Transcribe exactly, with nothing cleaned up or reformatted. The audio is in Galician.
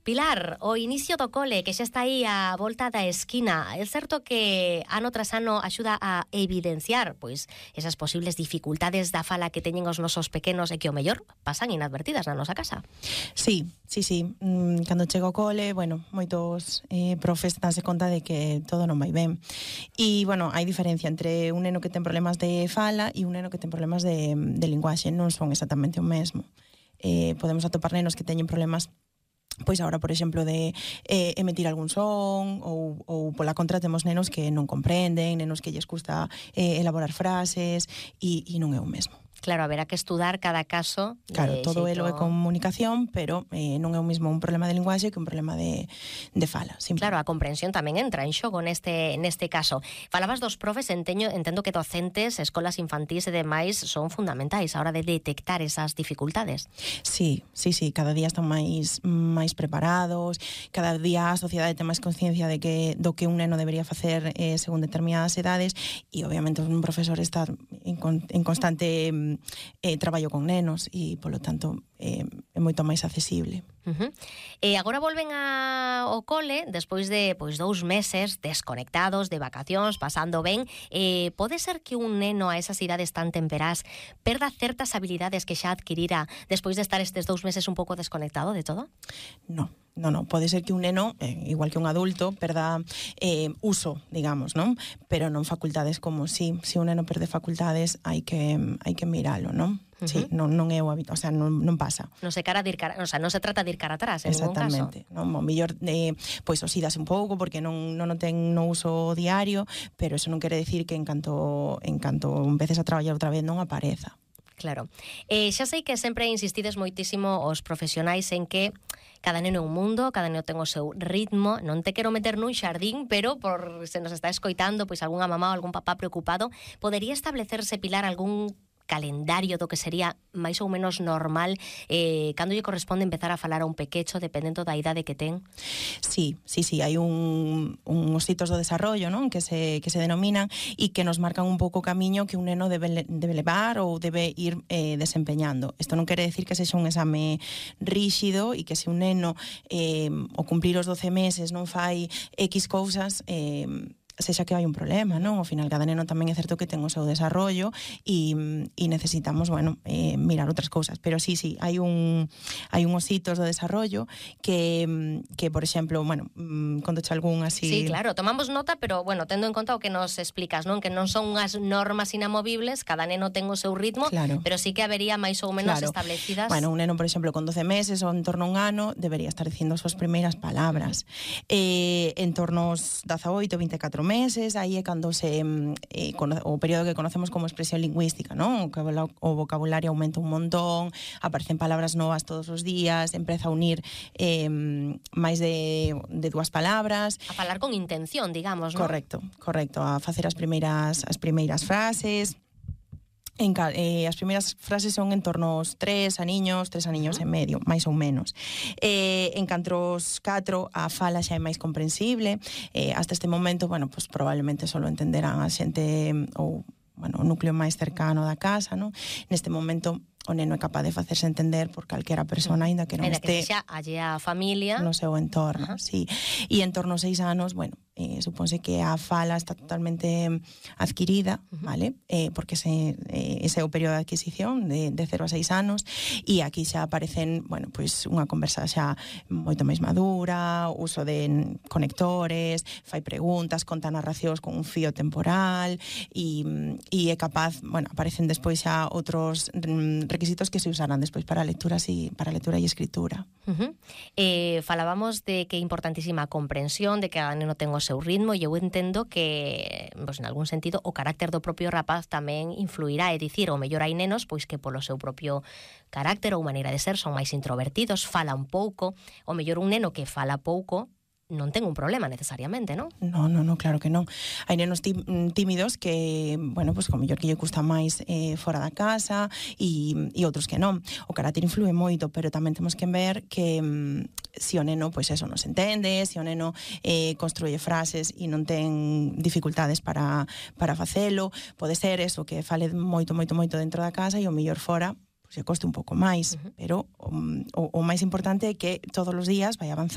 Pilar, o inicio do cole que xa está aí á volta da esquina, é certo que ano tras ano axuda a evidenciar pois esas posibles dificultades da fala que teñen os nosos pequenos e que o mellor pasan inadvertidas na nosa casa. Sí, sí, sí. Mm, cando chego ao cole, bueno, moitos eh, profes danse conta de que todo non vai ben. E, bueno, hai diferencia entre un neno que ten problemas de fala e un neno que ten problemas de, de linguaxe. Non son exactamente o mesmo. Eh, podemos atopar nenos que teñen problemas pois agora, por exemplo, de eh, emitir algún son ou, ou pola contra temos nenos que non comprenden, nenos que lles custa eh, elaborar frases e, e non é o mesmo. Claro, haberá que estudar cada caso. Claro, todo xeito... elo é comunicación, pero eh, non é o mismo un problema de linguaxe que un problema de, de fala. Simple. Claro, a comprensión tamén entra en xogo neste, neste caso. Falabas dos profes, enteño, entendo que docentes, escolas infantís e demais son fundamentais a hora de detectar esas dificultades. Sí, sí, sí, cada día están máis máis preparados, cada día a sociedade ten máis conciencia de que do que un neno debería facer eh, según determinadas edades e obviamente un profesor está en, en constante eh, traballo con nenos e, polo tanto, eh, é moito máis accesible. Uh-huh. E agora volven a, ao cole despois de pois dous meses desconectados, de vacacións, pasando ben. Eh, pode ser que un neno a esas idades tan temperás perda certas habilidades que xa adquirira despois de estar estes dous meses un pouco desconectado de todo? No, no, no. Pode ser que un neno, eh, igual que un adulto, perda eh, uso, digamos, non? Pero non facultades como si. Si un neno perde facultades, hai que, hai que miralo, non? Uh-huh. Sí, non, non é o hábito, o sea, non, non pasa. Non se cara de ir cara, o sea, non se trata de ir cara atrás en ningún caso. Exactamente, non, o mellor eh, pois osídase un pouco porque non non o ten no uso diario, pero eso non quere decir que en canto en canto empeces a traballar outra vez non apareza. Claro. Eh, xa sei que sempre insistides moitísimo os profesionais en que cada neno é un mundo, cada neno ten o seu ritmo, non te quero meter nun xardín, pero por se nos está escoitando pois algunha mamá ou algún papá preocupado, podería establecerse, Pilar, algún calendario do que sería máis ou menos normal eh, cando lle corresponde empezar a falar a un pequecho dependendo da idade que ten? Sí, sí, sí, hai un, uns hitos do desarrollo, non? Que se, que se denominan e que nos marcan un pouco o camiño que un neno debe, debe levar ou debe ir eh, desempeñando. Isto non quere decir que sexa un exame ríxido e que se un neno eh, ao cumplir os doce meses non fai X cousas, eh, sexa que hai un problema, non? Ao final, cada neno tamén é certo que ten o seu desarrollo e, e necesitamos, bueno, eh, mirar outras cousas. Pero sí, sí, hai un hai uns hitos do desarrollo que, que por exemplo, bueno, contoche algún así... Sí, claro, tomamos nota, pero, bueno, tendo en conta o que nos explicas, non? Que non son unhas normas inamovibles, cada neno ten o seu ritmo, claro, pero sí que habería máis ou menos claro. establecidas... Bueno, un neno, por exemplo, con doce meses ou en torno a un ano, debería estar dicindo as súas primeiras palabras. Eh, en torno aos dezaoito, vinte e catro meses, aí é cando se eh, o período que conocemos como expresión lingüística, non? O vocabulario aumenta un montón, aparecen palabras novas todos os días, empeza a unir eh, máis de, de dúas palabras. A falar con intención, digamos, non? Correcto, correcto, a facer as primeiras as primeiras frases. En, eh, as primeiras frases son en torno aos tres aniños, tres aniños uh-huh. e medio, máis ou menos. Eh, en canto aos catro, a fala xa é máis comprensible. Eh, hasta este momento, bueno, pues probablemente só entenderán a xente ou, bueno, o núcleo máis cercano da casa, non? Neste momento o neno é capaz de facerse entender por calquera persona, aínda que non Ainda este... que sexa allea a familia. No seu entorno, uh-huh. sí. E en torno aos seis anos, bueno, eh, supónse que a fala está totalmente adquirida, uh-huh. vale? Eh, porque ese, eh, ese é o período de adquisición de, de cero a seis anos e aquí xa aparecen, bueno, pois unha conversa xa moito máis madura, uso de conectores, fai preguntas, conta narracións con un fío temporal e, e é capaz, bueno, aparecen despois xa outros requisitos que se usarán despois para lecturas e para lectura e escritura. Uh-huh. Eh, falábamos de que é importantísima a comprensión, de que cada neno ten o seu ritmo e eu entendo que, pues, en algún sentido, o carácter do propio rapaz tamén influirá, é dicir, o mellor hai nenos pois que polo seu propio carácter ou maneira de ser son máis introvertidos, falan pouco, o mellor un neno que fala pouco non ten un problema necesariamente, non? No, no, no, claro que non. Hai nenos tímidos que, bueno, pues como mellor que lle custa máis eh, fora da casa e, e outros que non. O carácter influe moito, pero tamén temos que ver que mm, si o neno, pois pues eso, non se entende, si o neno eh, construye frases e non ten dificultades para, para facelo, pode ser eso, que fale moito, moito, moito dentro da casa e o mellor fora se coste un pouco máis, uh-huh. pero o, o, o máis importante é que todos os días vai avanzar